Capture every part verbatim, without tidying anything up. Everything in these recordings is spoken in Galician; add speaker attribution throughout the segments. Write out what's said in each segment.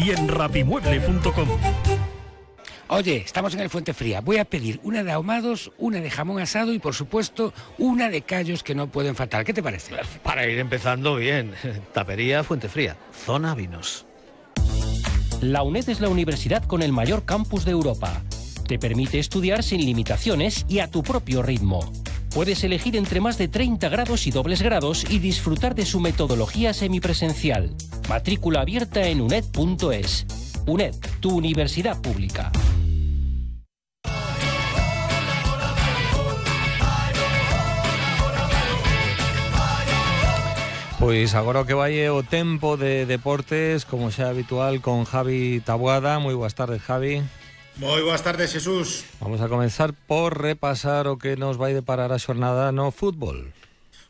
Speaker 1: y en rapimueble punto com.
Speaker 2: Oye, estamos en el Fuente Fría. Voy a pedir una de ahumados, una de jamón asado y, por supuesto, una de callos que no pueden faltar. ¿Qué te parece?
Speaker 3: Para ir empezando bien. Tapería Fuente Fría, zona vinos.
Speaker 4: La UNED es la universidad con el mayor campus de Europa. Te permite estudiar sin limitaciones y a tu propio ritmo. Puedes elegir entre más de treinta grados y dobles grados y disfrutar de su metodología semipresencial. Matrícula abierta en uned punto es. UNED, tu universidad pública.
Speaker 5: Pois agora que vai o tempo de deportes, como xa habitual, con Javi Taboada. Moi boas tardes, Javi.
Speaker 6: Moi boas tardes, Jesús.
Speaker 5: Vamos a comenzar por repasar o que nos vai deparar a xornada no fútbol.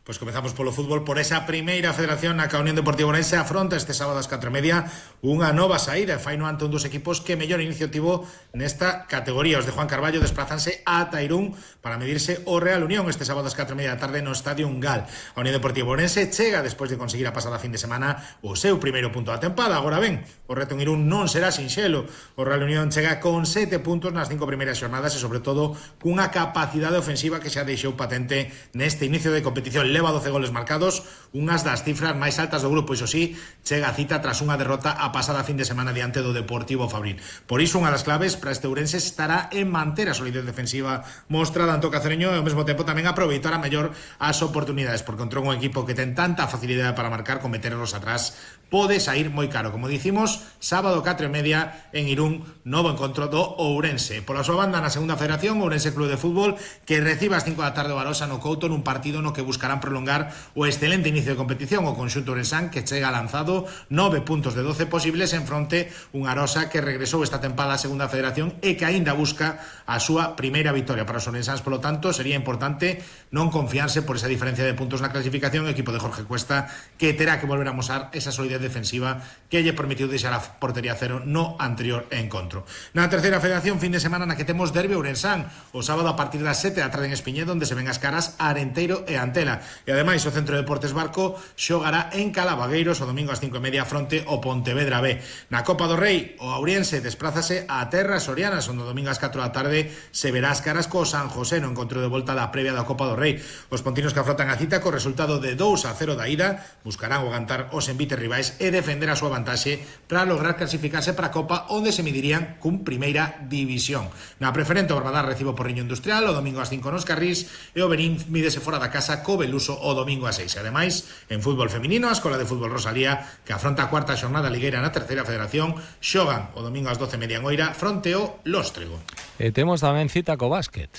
Speaker 6: Pois comezamos polo fútbol, por esa primeira federación na que a Unión Deportiva Ourense afronta este sábado ás catro e media unha nova saída, e faino ante un dos equipos que mellor inicio tivo nesta categoría. Os de Juan Carballo desplazanse a Tairún para medirse o Real Unión este sábado ás catro e media da tarde no Estadio Ungal. A Unión Deportiva Ourense chega despois de conseguir a pasada fin de semana o seu primeiro punto da tempada. Agora ben, o reto en Irún non será sinxelo. O Real Unión chega con sete puntos nas cinco primeiras xornadas e sobre todo cunha capacidade ofensiva que xa deixou patente neste inicio de competición. Leva doce goles marcados, unhas das cifras máis altas do grupo. Iso sí, chega a cita tras unha derrota a pasada fin de semana diante do Deportivo Fabril. Por iso, unha das claves para este Ourense estará en manter a solidez defensiva mostrada en Cacereño e ao mesmo tempo tamén aproveitar a mellor as oportunidades, porque contra un equipo que ten tanta facilidade para marcar, con meterlos atrás pode sair moi caro. Como dicimos, sábado catro e media en Irún, novo encontro do Ourense. Pola súa banda, na segunda federación, Ourense Club de Fútbol, que recibe ás cinco da tarde o Barosa no Couto nun partido no que buscarán prolongar o excelente inicio de competición. O conxunto ourensán, que chega lanzado nove puntos de doce posibles en fronte un Arosa que regresou esta tempada á segunda federación e que aínda busca a súa primeira victoria. Para os ourensáns, polo tanto, sería importante non confiarse por esa diferencia de puntos na clasificación. O equipo de Jorge Cuesta, que terá que volver a mostrar esa solidez defensiva que lle permitiu deixar a portería cero no anterior encontro. Na terceira federación, fin de semana na que temos derbi ourensán o sábado a partir das sete da tarde en Espiñedo, onde se ven as caras a Arenteiro e Antela. E ademais o Centro de Deportes Barco xogará en Calavagueiros o domingo ás cinco e media fronte o Pontevedra B. Na Copa do Rei, o Auriense desplázase a Terras Sorianas, onde o domingo ás catro da tarde se verá as caras co San José no encontro de volta da previa da Copa do Rei. Os pontinos que afrontan a cita co resultado de dous a cero da ida buscarán aguantar os envites rivais e defender a súa vantaxe para lograr clasificarse para a Copa, onde se medirían cun primeira división. Na preferente, o Barbadar recibe o Porriño Industrial o domingo ás cinco nos Carrís e o Berín mídese fora da casa co Beluso o domingo ás seis. Ademais, en fútbol feminino, a Escola de Fútbol Rosalía, que afronta a cuarta xornada ligueira na terceira federación, xogan o domingo ás doce e media en Oira fronte ao Lóstrego.
Speaker 5: E temos tamén cita co básquet.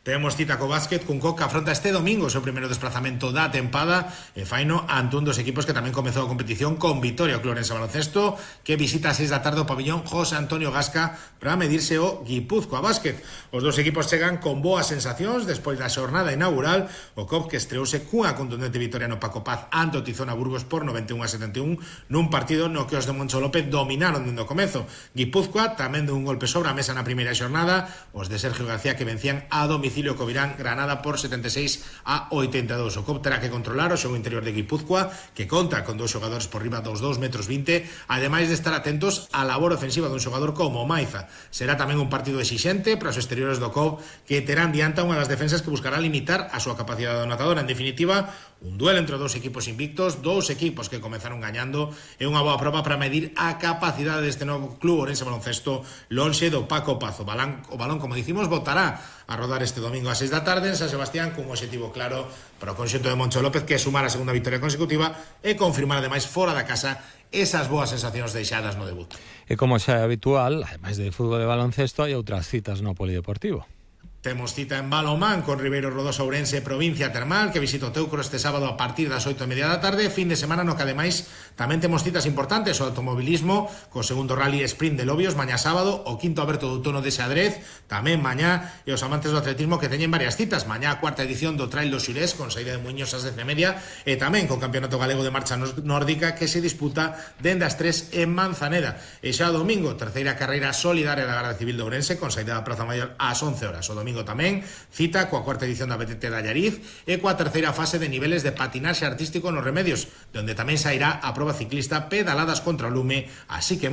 Speaker 6: Temos cita co básquet, cun Coca afronta este domingo o seu primeiro desplazamento da tempada e faino ante un dos equipos que tamén comezou a competición con vitoria, o Clorense Baloncesto, que visita a seis da tarde o pabillón José Antonio Gasca para medirse o Guipúzcoa Básquet. Os dos equipos chegan con boas sensacións despois da xornada inaugural. O C O P que estreouse cunha contundente vitoria no Paco Paz ante o Tizona Burgos por noventa e un a setenta e un nun partido no que os de Moncho López dominaron dende o comezo. Guipúzcoa tamén de un golpe sobre a mesa na primeira xornada, os de Sergio García que vencían a domicilio Covirán Granada por setenta e seis a oitenta e dous. O C O P terá que controlar o xogo interior de Guipúzcoa, que conta con dous xogadores por riba dos dous metros vinte, ademais de estar atentos á labor ofensiva dun xogador como Maiza. Será tamén un partido exixente para os exteriores do C O P, que terán diante unha das defensas que buscará limitar a súa capacidade anotadora. En definitiva, un duelo entre dous equipos invictos, dous equipos que comezaron gañando, e unha boa proba para medir a capacidade deste novo club Ourense Baloncesto lonxe do Paco Paz. O balón, o balón, como dicimos, botará a rodar este domingo a seis da tarde en San Sebastián, cun objetivo claro para o conxunto de Moncho López, que é sumar a segunda victoria consecutiva e confirmar ademais fora da casa esas boas sensacións deixadas no debut.
Speaker 5: E como xa é habitual, ademais de fútbol e baloncesto, hai outras citas no polideportivo.
Speaker 6: Temos cita en balonmán con Ribeiro Rodoso Ourense Provincia Termal, que visita o Teucro este sábado a partir das oito e media da tarde. Fin de semana no que ademais tamén temos citas importantes: o automobilismo co segundo rally sprint de Lobios mañá sábado, o quinto aberto do outono de Xadrez tamén mañá, e os amantes do atletismo que teñen varias citas mañá, a cuarta edición do Trail do Xurés con saída de Muiños ás dez e media, e tamén co Campeonato Galego de Marcha Nórdica que se disputa dende as tres en Manzaneda. E xa o domingo, terceira carreira solidaria da Garda Civil de Ourense con saída da Praza Maior ás once horas. O domingo tamén cita coa cuarta edición da B T T da Allariz e coa terceira fase de niveles de patinaxe artístico nos Remedios, donde tamén sairá a proba ciclista Pedaladas contra o Lume, así que